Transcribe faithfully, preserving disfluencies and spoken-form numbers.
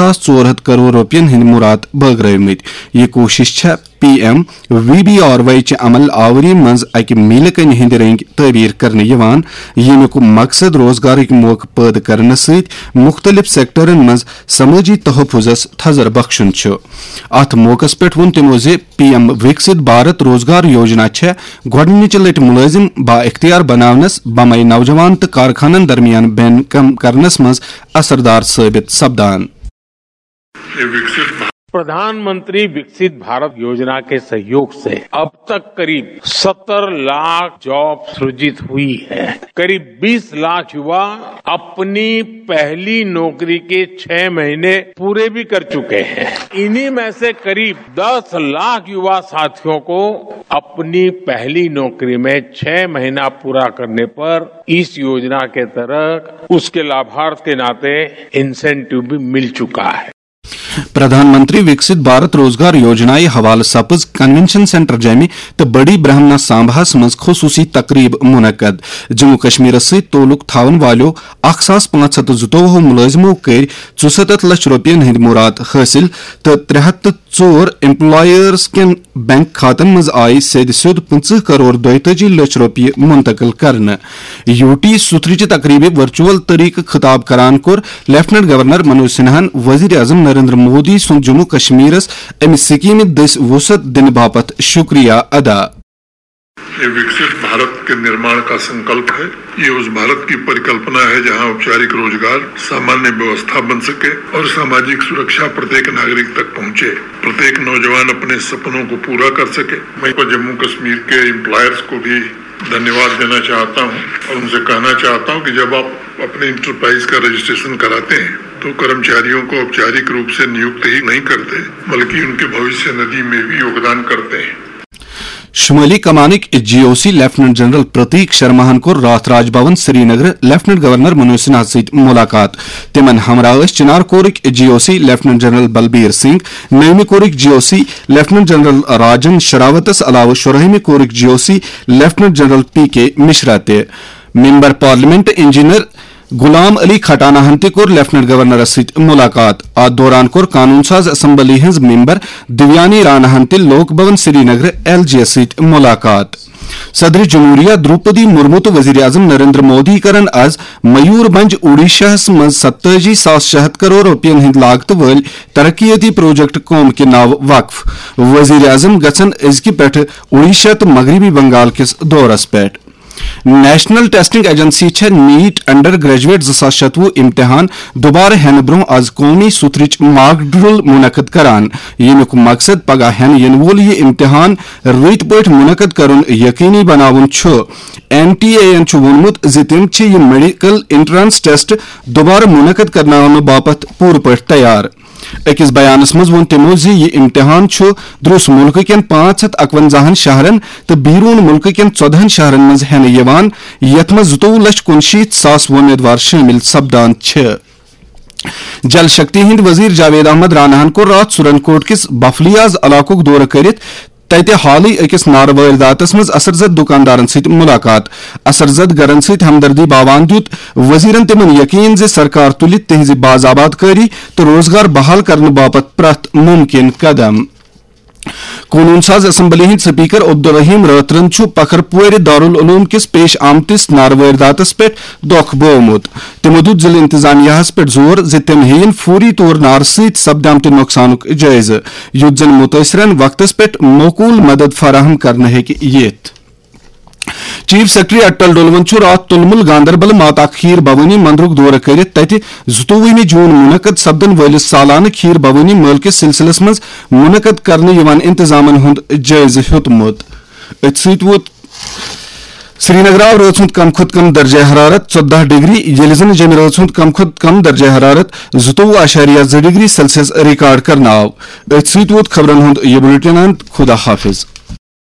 ساس ژور ہتھ کرور رۄپین ہٕنٛدۍ مُراد بٲگرٲومٕتۍ۔ یہِ کوٗشش چھےٚ P M V B R Y چہِ عمل آوری منٛز اکہِ میلہِ کنہِ ہٕنٛدِ رٔنگۍ تعبیٖر کرنہٕ یِوان، ییٚمیُک مقصد روزگارٕکۍ موقعہٕ پٲدٕ کرنہٕ سۭتۍ مُختٔلِف سیکٹرن منٛز سمٲجی تحفظس تھزر بخشُن چھُ۔ اتھ موقعس پٮ۪ٹھ ووٚن تِمو زِ پی ایم وِکسِت بھارت روزگار یوجنا چھےٚ گۄڈٕنِچہِ لٹہِ مُلٲزِم با اختیار بناونس، بمے نوجوان تہٕ کارخانن درمیان بین کم کرنس منٛز اثردار ثٲبت سپدان۔ प्रधानमंत्री विकसित भारत योजना के सहयोग से अब तक करीब सत्तर लाख जॉब सृजित हुई है। करीब बीस लाख युवा अपनी पहली नौकरी के छह महीने पूरे भी कर चुके हैं। इन्हीं में से करीब दस लाख युवा साथियों को अपनी पहली नौकरी में छह महीना पूरा करने पर इस योजना के तहत उसके लाभार्थ के नाते इंसेंटिव भी मिल चुका है। پردھان منتری وکسِت بھارت روزگار یوجنایہِ حوالہٕ سپٕز کنونشن سینٹر جیمہِ تہٕ بڑی برہمنا سامباہس منٛز خصوٗصی تقریب منعقد۔ جموں کشمیرس سۭتۍ تعلق تھاون والیو اکھ ساس پانٛژھ ہتھ تہٕ زٕتووُہ مُلٲزمو کٔرۍ ژُسَتتھ لچھ رۄپین ہٕنٛدۍ مُراد حٲصِل تہٕ ترٛےٚ ہتھ تہٕ ژور ایمپلایرز کٮ۪ن بینک کھاتن منٛز آیہِ سیٚدِ سیوٚد پٕنٛژٕہ کرور دۄیتٲجی لچھ رۄپیہِ منتقل کرنہٕ۔ یوٗ ٹی سُتھرٕچہِ تقریبہِ ورچوئل طریقہٕ خطاب کران کوٚر لیفٹیننٹ گورنر منوج سنہاہن وزیر اعظم نریندر مودی سُنٛد جموں کشمیرس امہِ سکیمہِ دٔسۍ وسعت دِنہٕ باپتھ شکریہ ادا۔ ये विकसित भारत के निर्माण का संकल्प है। ये उस भारत की परिकल्पना है, जहां औपचारिक रोजगार सामान्य व्यवस्था बन सके और सामाजिक सुरक्षा प्रत्येक नागरिक तक पहुंचे, प्रत्येक नौजवान अपने सपनों को पूरा कर सके। मैं जम्मू कश्मीर के एम्प्लॉयर्स को भी धन्यवाद देना चाहता हूं और उनसे कहना चाहता हूं कि जब आप अपने इंटरप्राइज का रजिस्ट्रेशन कराते हैं, तो कर्मचारियों को औपचारिक रूप से नियुक्त ही नहीं करते, बल्कि उनके भविष्य निधि में भी योगदान करते हैं। شمٲلی کمانٕکۍ G O C lieutenant general Prateek شرماہن کوٚر راتھ Raj Bhavan Srinagar lieutenant governor Manoj Sinha سۭتۍ ملاقات۔ تِمن ہمراہ ٲسۍ چنار کورٕکۍ G O C lieutenant general Balbir Singh, نٔیمہِ کورٕکۍ G O C lieutenant general Rajan شراوتس علاوٕ شُراہمہِ کورٕکۍ G O C lieutenant general P K Mishra تہِ۔ Member parliament engineer Ghulam Ali Khatana ہن تہِ کوٚر لیفٹیننٹ گورنرس سۭتۍ ملاقات۔ اتھ دوران کوٚر قانون ساز اسمبلی ہٕنٛز ممبر دیویانی رانا ہن تہِ لوک بھون سری نگر ایل جی یس سۭتۍ ملاقات۔ صدر جمہوریہ دروپدی مرمو تہٕ وزیر اعظم نریندر مودی کرن از میور بنج اوڈیشاہس منٛز ستٲجی ساس شےٚ ہتھ کرور رۄپین ہٕنٛدۍ لاگتہٕ وٲلۍ ترقیتی پروجیکٹ قوم کہِ ناوٕ وقف۔ وزیر اعظم گژھن أزکہِ پٮ۪ٹھٕ اوڈیشہ تہٕ مغربی بنگال کِس دورس پٮ۪ٹھ۔ نیشنل ٹیسٹنگ ایجنسی چھےٚ نیٹ انڈر گریجویٹ زٕ ساس شتوُہ امتحان دوبارٕ ہینہٕ برونٛہہ از قومی سُتھرٕچ ماک ڈرل منعقد کران، ییٚمیُک مقصد پگاہ ہینہٕ ینہٕ وول یہِ امتحان رٕتۍ پٲٹھۍ منعقد کرُن یقینی بناوُن چھُ۔ این ٹی اے یَن چھُ ووٚنمُت زِ تِم چھِ یہِ میڈیکل انٹرنس ٹیسٹ دوبارٕ منعقد کرناونہٕ باپتھ پوٗرٕ پٲٹھۍ تیار۔ أکِس بیانَس منٛز ووٚن تِمَو زِ یہِ اِمتِحان چھُ دروٚس مُلکہٕ کٮ۪ن پانٛژھ ہَتھ اَکوَنزاہَن شہرَن تہٕ بیروٗن مُلکہٕ کٮ۪ن ژۄدہَن شہرَن منٛز ہٮ۪نہٕ یِوان، یَتھ منٛز زٕتووُہ لَچھ کُنشیٖتھ ساس وۄمیدوار شٲمِل سپدان چھِ۔ جل شکتی ہٕنٛدۍ وزیر جاوید احمد راناہَن کوٚر راتھ سورن کوٹ کِس بفلیاز علاقُک دورٕ کٔرِتھ تَتہِ حالٕے أکِس نارٕ وٲرۍ داتس منٛز اثر زد دُکاندارن سۭتۍ مُلاقات۔ اثر زد گرن سۭتۍ ہمدردی باوان دیُت وزیرن تِمن یقین زِ سرکار تُلہِ تِہنٛزِ باز آباد کٲری تہٕ روزگار بحال کرنہٕ باپتھ پرٛٮ۪تھ مُمکِن قدم۔ قونوٗن ساز اسمبلی ہٕنٛدۍ سپیکر عبدالرحیم رٲترَن چھُ پکھر پورِ دارالعلوم کِس پیش آمتِس نارٕ وٲرۍ داتس پٮ۪ٹھ دۄکھ بوومُت۔ تِمو دیُت ضلعہٕ انتظامیہ ہَس پٮ۪ٹھ زور زِ تِم ہیٚیِن فوری طور نارٕ سۭتۍ سپدِ آمتہِ نۄقصانُک جٲیزٕ، یُتھ زَن مُتٲثرَن وقتَس پٮ۪ٹھ موقوٗل مدد فراہم کرنہٕ ہیٚکہِ یِتھ۔ چیف سیکرٹری اٹل ڈولون چھُ راتھ تُلمُل گاندربل ماتا کھیٖر بھوٲنی مندرُک دورٕ کٔرِتھ تَتہِ زٕتووُہمہِ جوٗن منعقد سپدَن وٲلِس سالانہٕ کھیٖر بھوٲنی مٲلہٕ کِس سلسلس منٛز منعقد کرنہٕ یِوان انتظامَن ہُنٛد جٲیزٕ ہیوٚتمُت۔ أتھۍ سۭتۍ ووت سرینگر آو رٲژ ہُنٛد کم کھۄتہٕ کم درجہ حرارت ژۄداہ ڈگری، ییٚلہِ زن جیٚمہِ رٲژ ہُنٛد کم کھۄتہٕ کم درجہ حرارت زٕتووُہ اعشاریہ زٕ ڈگری سیلسیس ریکارڈ کرنہٕ آو۔ أتھۍ سۭتۍ ووت خبرن ہُنٛد یہِ بلیٹن اند۔ خدا حافظ۔